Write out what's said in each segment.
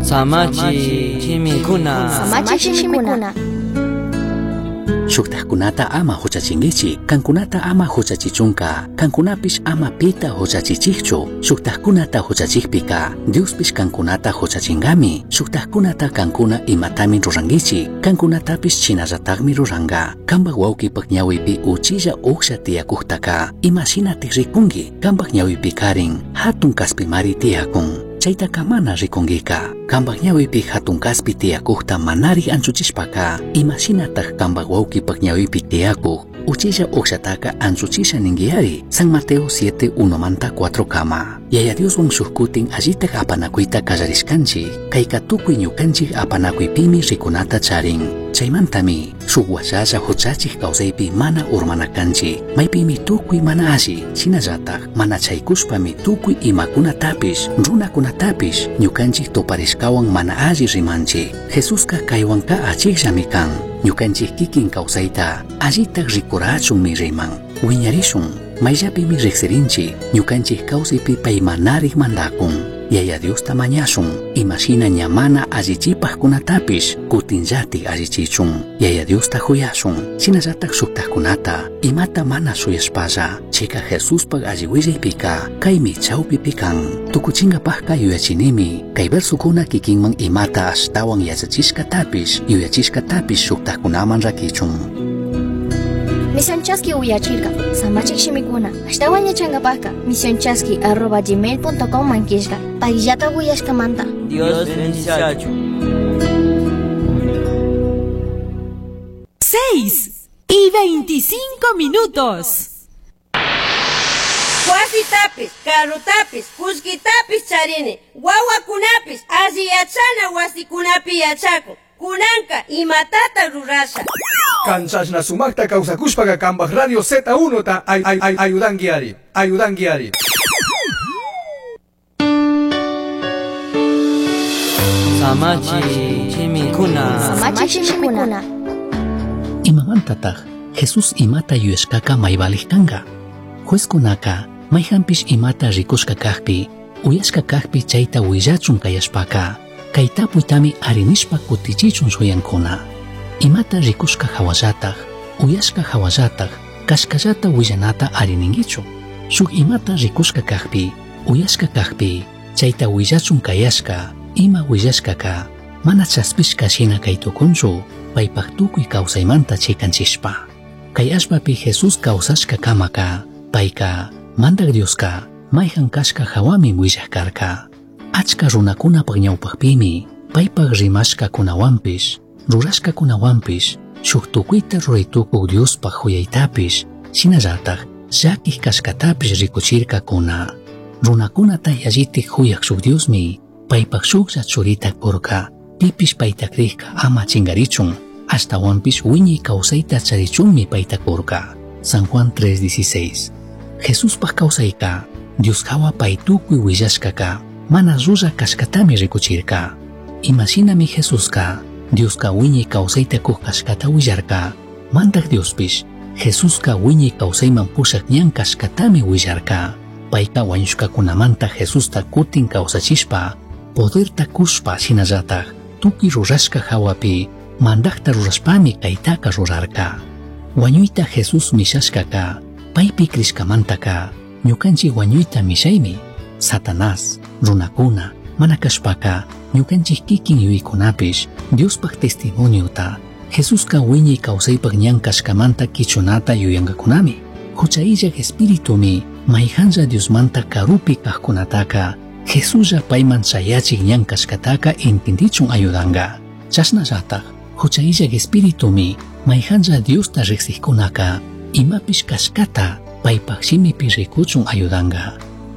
Samachi shimikuna. Samachi shimikuna. Shuktajkunata ama huchachinkichik, kankunata ama huchachichunka, kankunapish ama pita huchachichikchu. Shuktajkunata huchachikpika, Diospish kankunata huchachinkami. Shuktajkunata kankuna imatami rurankichik, kankunatapish shinallatakmi ruranka. Kampak wawkipak ñawipi uchilla uksha tiyakuktaka, imashinatik rikunki? Kampak ñawipi karin, hatun kaspimari tiyakun. Chaytaka mana rikunkika. Kampak ñawipi hatun kaspi tiyakukta manari anchuchishpaka, imashinatak kampak wawkipak ñawipi tiyakuk uchilla ukshataka anchuchisha ninkiyari. San Mateo 7, 1 manta 4 kama. Yaya Dioswan shuk kutin allitak apanakuyta kallarishkanchik, kayka tukuy ñukanchik apanakuypimi rikunata charin. Chaymantami shuk washalla huchachik kawsaypi mana urmana kanchik, maypimi tukuy mana alli, shinallatak mana chaykushpami tukuy imakunatapish, runakunatapish ñukanchik tuparishkawan mana alli rimanchik. Jesuska kaywanka achikllami kan, ñukanchik kikin kawsayta allitak rikurachunmi riman. Wiñarishun, mayllapimi riksirinchik, ñukanchik kawsaypi pay manarik mandakun. Yaya Diosta mañashun, imashina ña mana allichipajkunatapish kutinllatik allichichun. Yaya Diosta huyashun, shinallatak shuktajkunata imata mana shuyashpalla, chika Jesuspak alli willaypika kaymi chawpipi kan. Tukuchinkapajka yuyachinimi, kay versokuna kikinman imata ashtawan yachachishkatapish, yuyachishkatapish shuktajkunaman rakichun. Misión Chaski uyachirka, samachik shimikuna, ashtawan yachankapajka, misionchaski@gmail.com mankishka, payllata uyashkamanta. Dios bendiciachu. 6:25 minutos. Wasitapis, carrotapis, kullkitapis charini, wawakunapis, alli yachana wasikunapi yachakun. Kunanka imatata rurasha. Kanchashna sumakta kawsakushpaka kambaj Radio Z1 ta ay ay ay ayudanki ari, ayudanki ari. Samachi shimikuna. Samachi shimikuna. Imamantataj Jesús imata yuyashkaka maybalik kanka. Juezkunaka mayhanpish imata rikushka kakpi, uyashka kakpi chayta willachun kayashpaka, kay tapuytami arinishpa kutichichun shuyankuna. Imata rikushka hawallataj, uyashka hawallataj, kashkallata willanata arininkichu. Shuk imata rikushka kakpi, uyashka kakpi, chayta willachun kayashka, ima willashkaka, mana chaspishka shina kay tukunchu, paypak tukuy kawsaymanta chikanchishpa. Kay allpapi Jesús kawsashka kamaka, payka, Mandak Dioska, mayhan kashka hawami willaj karka. Achka runakunapak ñawpakpimi, paypak rimashkakunawanpish, rurashkakunawanpish, shuk tukuyta ruraytukuk Diospaj huyaytapish, shinallatak llakik kashkatapish rikuchirkakuna. Runakunata yallitik huyak shuk Diosmi, paypak shuklla churita kurka, pipish payta krikka ama chinkarichun, ashtawanpish wiñay kawsayta charichunmi payta kurka. San Juan 3:16. Jesuspaj kawsayka, Dios hawa pay tukuy willashkaka, mana llulla kashkatami rikuchirka. Imashinami Jesuska, Dioska wiñay kawsayta kuk kashkata willarka, Mandak Diospish, Jesuska wiñay kawsayman pushak ñan kashkatami willarka. Payka wañushkakunamanta Jesusta kutin kawsachishpa, poderta kushpa shinallatak, tukuy rurashka hawapi, mandakta rurashpami kaytaka rurarka. Wañuyta Jesús mishashkaka, paypi krishkamantaka, ñukanchik wañuyta mishaymi. Satanás, runakuna, mana kashpaka, ñukanchik kikin yuyaykunapish, Diospaj testimoniota, Jesuska wiñay kawsaypak ñan kashkamanta kichunata yuyankakunami. Hucha illak espiritumi, mayhanlla Diosmanta karupi kajkunataka, Jesuslla payman chayachik ñan kashkataka entendichun ayudanka. Chashnallatak, hucha illak espiritumi, mayhanlla Diosta riqsikkunaka, imapish kashkata paypak shimipi rikuchun ayudanka.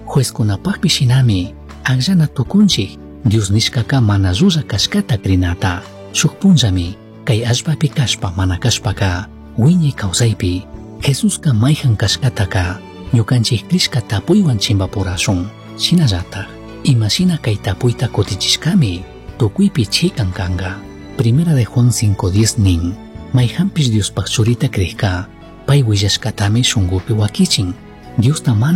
Juezkunapakpi shinami, akllana tukunchik, Dios nishkaka mana llulla kashkata krinata. Shuk punllami, kay allpapi kashpa mana kashpaka, wiñay kawsaypi, Jesuska mayhan kashkataka, ñukanchik krishka tapuywan chimpapurashun. Shinallatak, imashina kay tapuyta kutichishkami, tukuypi chikan kanka. Primera de Juan 5:10 nin, mayhanpish Diospaj churita krikka, pay willashkatami shunkupi wakichin. Diosta mana